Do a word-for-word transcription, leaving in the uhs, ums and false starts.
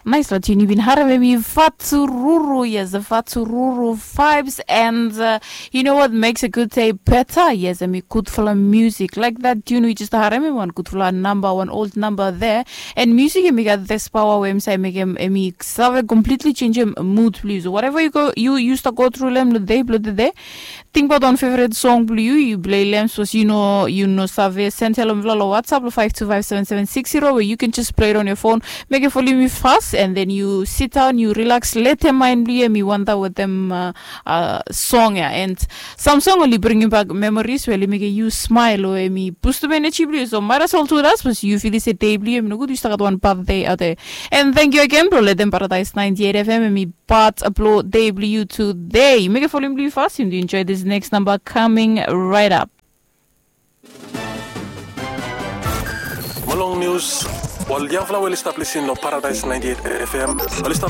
Nais la tune yu bin harem em i Fatururu, yes, the Fatururu vibes, and uh, you know what makes a good day better? Yes, em i gudfala music. Like that tune we just harem em, wan gudfala number, wan old number there. And music em i gat this power where em say make em em i save completely change em mood, please. So whatever you go, you used to go through them the day, blue the day. Tingbaot wan favorite song blue you, you play lem, so you know, you know, save send hello vlalo WhatsApp lo five two five seven seven six zero, where you can just play it on your phone. Make it follow me fast, and then you sit down, you relax, let them mind blue me wonder with them uh, uh, song, yeah. And some song only bring you back memories where make you smile or me boost up energy blue. So might as well do that, but you feel it's a day blue me no good, you start one birthday out there. And thank you again, bro. Let them Paradise ninety-eight F M and me part upload day blue you today. Make it follow blue fast, you enjoy this next number coming right up. Mo long nius, ol yangfala we oli stap lisin long Paradise ninety-eight F M, oli stap